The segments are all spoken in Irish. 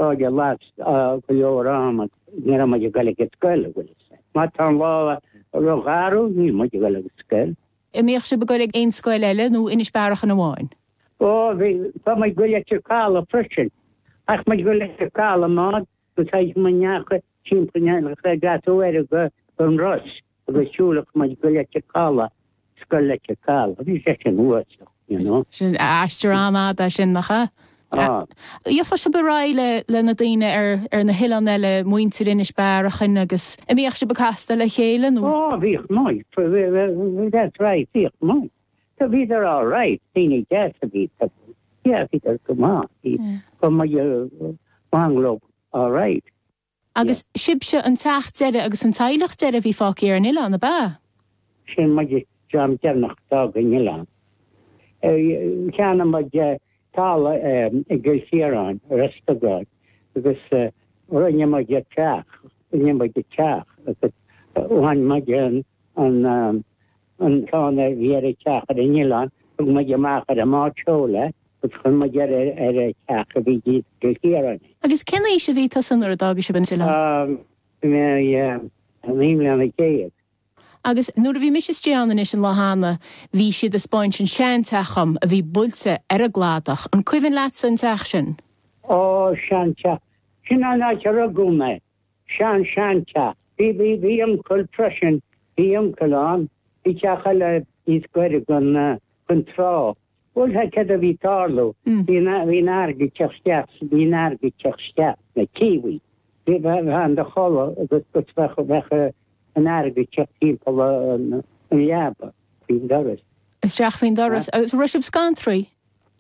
cairde las go leor ama, ní raibh muid ag dul ag an scoil, an bhfuil fhios a'd. Má tá an lá rógharbh, níl muid ag dul ag an scoil. An mbíodh sibh ag dul ag aon scoil eile nó Inis Bearachain amháin? Ó, bhí, tá muid ag dul Leitir Caladh freisin. Ach muid ag dul Leitir Caladh i mbád agus théadh muid neacha timpeall na gCathaoir go an Ros agus shiúlfadh muid go Leitir Caladh, Scoil Leitir Caladh. Bhí sé sin uafásach, you know. Sin aistear an-fhada é sin, nach ea? Á. Gheofá sibh ar aghaidh le le na daoine ar ar na hoileáin eile, muintir Inis Bearachain agus an mbíodh sibh ag castáil le chéile nó? Ó, bhíodh muid, that's right, bhíodh muid. So bhíodar all right, daoine deas a bhí iontu. Yeah, bhíodar go maith. Bhí muid bang leo all right. Agus sibhse an teach deiridh agus an teaghlach deiridh a bhí fágtha ar an oileán, ab ea? Sin muid an dream deireanach a d'fhág an oileán. Cheannaigh muid talamh i gCill Chiaráin, Ros Dugáin, agus rinne muid teach, rinne muid teach agus bhain muid an an ceann a bhí ar an teach ar an oileán, thug muid amach ar an mbád seoil é agus chuir muid ar ar an teach a bhí i gCill Chiaráin é. Agus cén aois a bhí tusa nuair a d'fhága sibh an t-oileán? Bhí mé 19 mbliana. Agus nuair a bhí mise istigh ann anois an lá cheana, bhí siad ag 'spáint an seanteach dhom a bhí buailte ar an gcladach. An cuimhin leatsa an teach sin? Ó, seanteach. Sin an áit a rugadh mé. Sean seanteach. Bhí bhí bhí uncail freisin, bhí uncail ann, bhí teach eile níos gaire don don trá. Bhuel tá céard a bhí ag tarlú, bhí an bhí an fharraige ag teacht isteach, bhí an fharraige ag teacht isteach, na Kiwi. Bhí bheifeá in do chodladh agus agus bheadh bheadh an fharraige ag teacht timpeall an an leaba faoin doras. Isteach faoin doras. Agus raibh sibh scantraithe?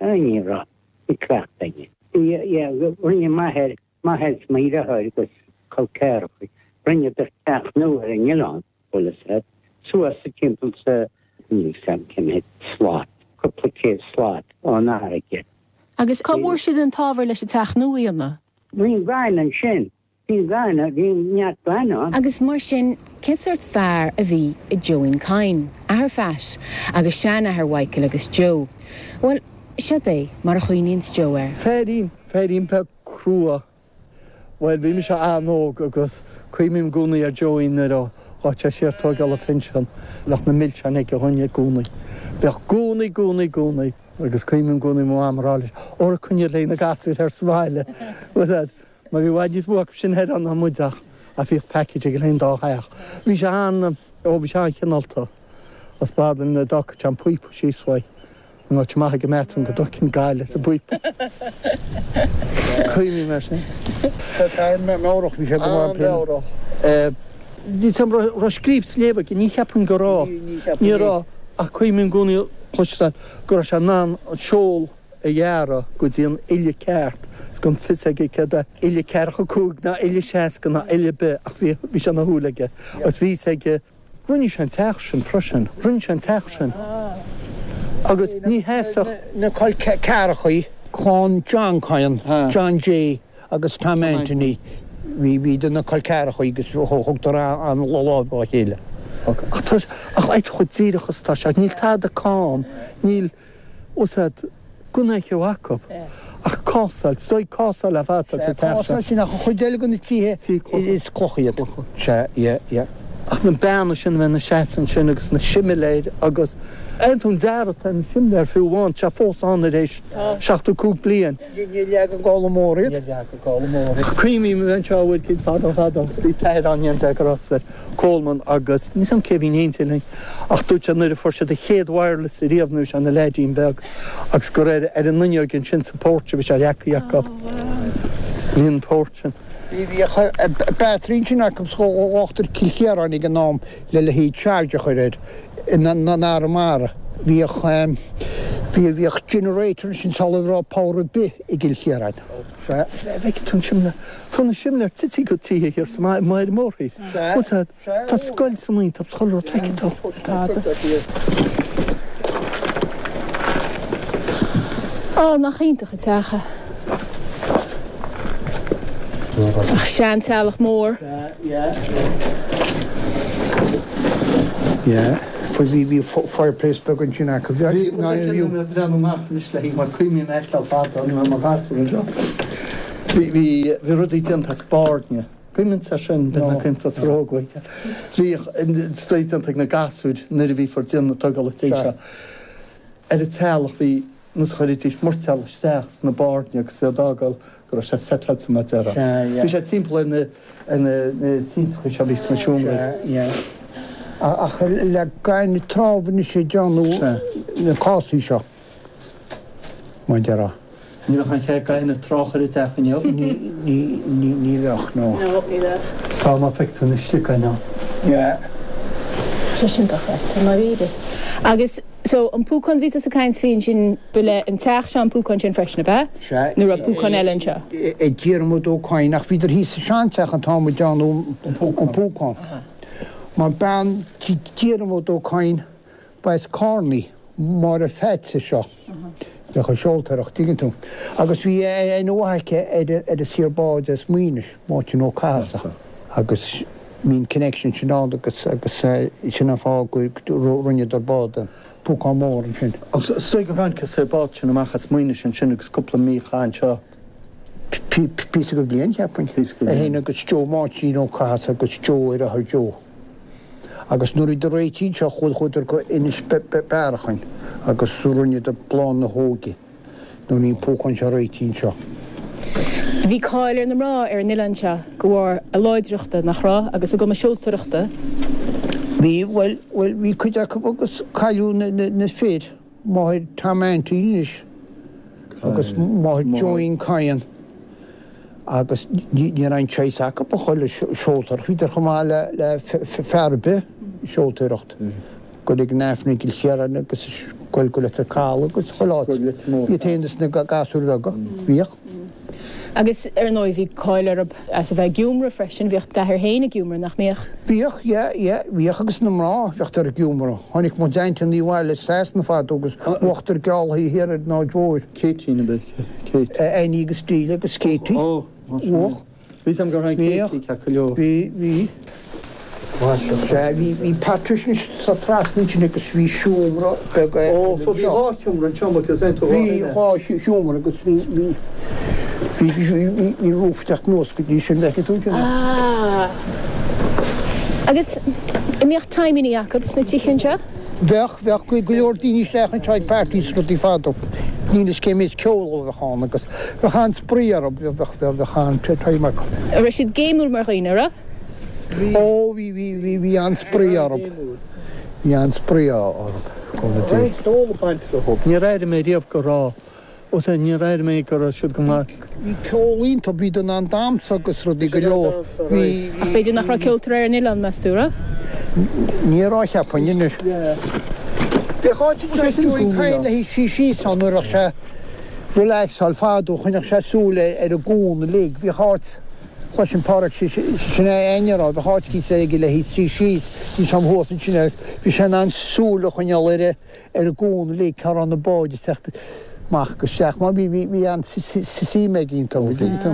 Ní raibh. Bhí cleachtadh againn. Bhí yeah rinne m'athair M'athair is mo dheartháir agus col ceathracha, rinneadar teach nua ar an oileán, bhfuil fhios a'd, suas sa timpeall sa, níl fhios a'm cé mhéad slat, cúpla céad slat ón fharraige. Agus cá bhfuair siad an t-ábhar leis an teach nua a dhéanamh? Bhí an gaineamh ansin, bhí an gaineamh, bhí neart gaineamh ann. Agus mar sin, cén sórt fear a bhí i Joeín Kyne, athair Phat agus seanathair Mhichael agus Joe? Bhuel, seod é mar a chuimhníonns Joe air. Feairín, feairín beag crua. Bhuel, bhí mise an-óg agus cuimhním i gcónaí ar Joeín nuair a ghabh sé siar tóigeáil a phinsean, bheadh na milseáin aige dhúinn i gcónaí. Bheadh gcónaí, gcónaí, gcónaí. Agus cuimhním i gcónaí mo mham ag rá leis, Óra coinnigh le na gasúir thoir sa bhaile. Bhuel, mar bhí i bhfad níos mó acu sin thoir ann ná muid ach ach bhíodh package aige le an dá theach. Bhí sé an, ó bhí sé an-chineálta. Is b'fhada nuair a d'fhágfadh sé an píopa síos uaidh. An áit amach ag an mbathroom go dtógfainn gaile sa bpíopa. Cuimhním air sin. Fear meabhrach, bhí sé go maith. An-mheabhrach. Níl 's a'm raibh scríobh 's léamh aige, ní cheapaim go raibh. Ní raibh, ach cuimhním i gcónaí cloisteáil go raibh sé in ann an seol a ghearradh go dtí an uille ceart is gan fios aige céard é uille ceathracha cúig ná uille seasca ná uille ar bith ach bhí bhí sé ina shúil aige agus bhí fhios aige Rinne sé an teach sin freisin. Rinne sé an teach sin. Agus ní sheasfadh. Na col ceathrachaí, clann John Kyne, John J agus Tom Anthony, bhí bhíodar ina col ceathrachaí agus thugtar an lámh dá chéile. Ach tá, ach ait chomh díreach is atá sé. Níl tada cam, níl. Úsáid gan aon cheo acu ach cásáil, is dóigh cásáil ar fad atá sa teach seo. Cásáil sin ach an chuid eile de na tithe is cloch iad. Sea, yeah, yeah. Ach na beanna sin a bheith ina seasamh ansin agus na similéir agus aon dearadh atá ar na similéir fiú amháin, tá sé fós ann ar éis 75 bliain. Níor leag an gála mór iad. Níor leag an gála mór iad. Cuimhním a bheith anseo uair éicint fadó fadó, bhí t-athair ann déanta ag Ross ar Coleman agus níl 's a'm cé a bhí in éindí linn ach dúirt sé nuair a fuair siad a chéad wireless ariamh nuair a bhí sé ina leaidín beag agus gur ar ar an fhuinneoig ansin sa porch a bhí sé leagtha acu. Bhí an porch sin. Bhí bhíodh battery ansin acu sa Uachtar Cill Chiaráin ag an am le le haghaidh charge a chur air in in Arramara. Bhíodh bhí bhíodh generator ansin sula raibh power ar bith i gCill Chiaráin. Sea, bhfeicfidh tú an simléar. Tá na simléir tite go tithe thiar sa mbaile mórthír. Tá scoil san iontach chuile rud, feicfidh tú. Á, nach iontach an teach é. Ach seanteaghlach mór. Yeah. Bhí bhí fireplace beag ansin acu. Bhí, ná bhí. Bhí mé ag breathnú amach anois le haghaidh mar cuimhním ar fheiceáil fada nuair a bhí mé i mo ghasúr anseo. Bhí, bhí, bhí rudaí déanta as bairne. Cuimhníonn sé sin, b'fhéidir nach cuimhin tú róg uaidh. Bhíodh rudaí déanta ag na gasúir nuair a bhíofar ag déanamh na tógála tí seo. Ar an teallach bhí nós chuiridís moirtéal isteach sna bairne agus iad a fhágáil go raibh sé setáilte mar a déarfá. Bhí sé timpeall ar na ar na tintreacha seo a bhí sna seomraí. Sea, yeah. Ach le gaineamh trá anois ag déanamh na cásaí seo, mar a déarfá. Ní bheadh aon chead gaineamh trá a chur i dteach inniu. Ní, ní, ní, ní bheadh, no. No, ní bheadh. Tá, má feictear tú anois istigh againn ann. Yeah. Sé sin dochreidte, i ndáiríre. Agus, so, an púcán bhí tusa ag caint faoi ansin, ba le an teach seo an púcán sin freisin, ab ea? Sea. Nó raibh púcán eile anseo? Ag Diarmuid Ó Cadhain, ach bhíodar thíos sa seanteach an t-am a déanadh an púcán. Mar bean Diarmuid Ó Cadhain, Ba as Carnaí, Máire Pheaits seo. Bheadh ag seoltóireacht, tuigeann tú. Agus bhí aithne mhaith aici ar an saor báid as Maínis, Máirtín Ó Cathasaigh. Agus bhí an connection sin ann agus agus sin an fáth go rinneadar bád, púcán mór ansin. Agus is dóigh gur tháinig an saor bád sin amach as Maínis ansin agus cúpla mí a chaith anseo. Píosa go bhliain, cheapfainn. Píosa go bhliain. É féin agus Joe Máirtín Ó Cathasaigh agus Joe ar athair Joe. Agus nuair a bhíodar réitithe anseo chuaigh chuadar go Inis Bearachain agus rinneadar Bláth na hÓige nuair a bhí an púcán seo réitithe anseo. Bhí cáil ar na mná ar an oileán seo de bharr a láidreachta, nach raibh, agus a gcumas seoltóireachta. Bhí, bhuel, bhuel, bhí cuid acu agus cailleadh na, na, na fir, máthair Tom Anthony anois agus máthair Joeín Cadhain. Agus ní raibh aon choice acu ach a dhul ag seoltóireacht. Bhíodar chomh maith le fear ar bith ag seoltóireacht. Goil ag an Aifreann i gCill Chiaráin agus goil go Leitir Caladh agus chuile áit. Iad féin is na gasúir bheaga. Bhíodh. Agus ar ndóigh bhí cáil orthu as a bheith ag iomramh freisin. Bhíodh d'athair féin ag iomramh, nach mbíodh? Bhíodh, yeah, yeah, bhíodh agus na mná, bhíodar ag iomramh. Tháinig mo sheaintíní abhaile as Sasana fadó agus uachtar gealaithe thiar ar an Aird Mhóir. Katie nó b'é Kate? Annie agus Delia agus Katie. Ó, Bhuach. Bhí 'fhios a'm gur tháinig Katie ceapadh leo. Bhí, bhí. Sea, bhí, bhí Patricia sa trasna ansin agus bhí seomra beag eile Ó, so bhí dhá sheomra anseo, mo cos aon Bhí dhá sheomra agus bhí, bhí, bhí, bhí, bhí, bhí roof ag teacht anuas go dtí sin, bhfeicfidh tú ansin. Ah. Agus an mbíodh timeannaí acu sna tithe anseo? Bheadh, bheadh go leor daoine isteach anseo ag parties is rudaí fadó. Níl fhios cé méid ceol a bheadh ann agus bheadh an-spraoi orthu, bheadh, bheadh, bheadh an-time acu. An raibh siad géimiúil mar dhaoine, an raibh? Ó, bhí, bhí, bhí, bhí an-spraoi orthu. Bhí an-spraoi orthu, go Raibh dtí. ceol ag baint leo. Níor airigh mé riamh go raibh. Ó sea, níor airigh mé go raibh siad go maith. Bhí ceol iontu, bhíodar in ann damhsa agus rudaí go leor. Bhí. Ach b'fhéidir nach raibh ceoltóir ar an oileán, meas tú, raibh? Ní raibh, cheapfainn, anois. Bheadh áit anseo ag Joey Kyle le suí síos ann nuair a bheadh sé relaxáil fadó, choinneodh sé súil ar an gcuan uilig. Bhíodh áit, chloisinn Páraic, sin é Áine a rá, bheadh áit cíosa aige le suí síos, bhí sé thuas ansin agus bhí sé in ann súil a choinneáil ar an. ar an gcuan uilig cá raibh na báid ag teacht amach agus isteach mar bhí bhí bhí an-suim aige iontu an dtuigeann tú.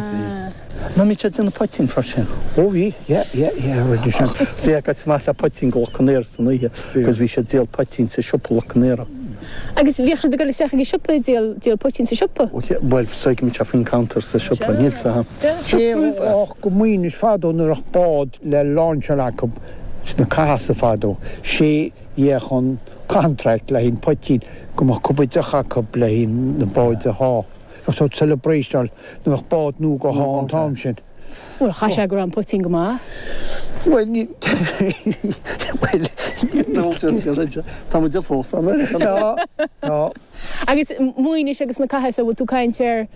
Ná bhí sé ag déanamh poitín freisin. Ó bhí, yeah, yeah, yeah, rinne sé. Bhí ag goil amach le poitín go Loch an Iaraidh san oíche agus bhí sé ag díol poitín sa siopa Loch an Iaraidh. Agus bhíodh siad ag dul isteach ag an siopa ag díol díol poitín sa siopa? Bhuel, so go mbíodh sé faoin counter sa siopa, níl 's a'm. Sé ach go Maínis fadó nuair a bheadh bád le lainseáil acu sna Cathasaigh fadó, sé Gheobhadh an contract le haghaidh an poitín go mbeadh cupa deoch acu le haghaidh na báid a shá. Bheadh sórt celebration nuair a bheadh bád nua go shá an t-am sin. Bhuel, chaith sé go raibh an poitín go maith. Bhuel, ní, bhuel, Tá muid fós ann. Tá, tá. Agus Maínis agus na Cathasaigh, bhfuil tú ag caint ar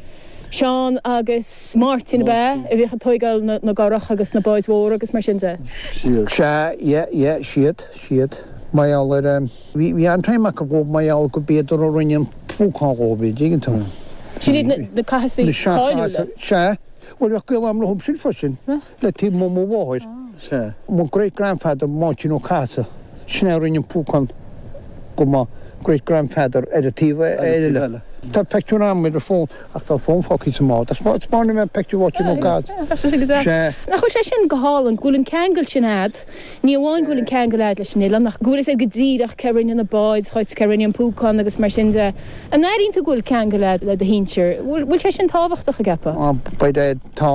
Seán agus Máirtín ab ea, a bhíodh ag tóigeáil na gcurach agus na báid mhóra agus mar sin de? Sea, yeah, yeah, siad. Siad. Mar gheall ar, bhí, bhí an-time acu dhóibh mar gheall go b'iadar a rinne an púcán dhóibh, an dtuigeann tú. Sin iad na, na Cathasaigh cáiliúla. Sea. Bhuel, bheadh gaol agam leo sin freisin, le taobh mo, mo mháthair. Sea. Mo great grandfather, Máirtín Ó Cathasaigh, sin é a rinne an púcán go mo. Great Grandfather ar an taobh eile. Tá pictiúr agam ar an bhfón ach tá an fón fágtha sa mbád. Spáinfidh mé an pictiúr dhuit nó cad. Sea. Nach bhfuil sé sin go hálainn, go bhfuil an ceangal sin a'd, ní amháin go bhfuil an ceangal a'd leis an oileán ach go bhfuil fhios a'd go díreach cé rinne na báid dhuit, cé rinne an púcán agus mar sin de. An airíonn tú go bhfuil ceangal a'd le do shinsir? Bhfuil sé sin tábhachtach, an gceapfá? By dad, tá.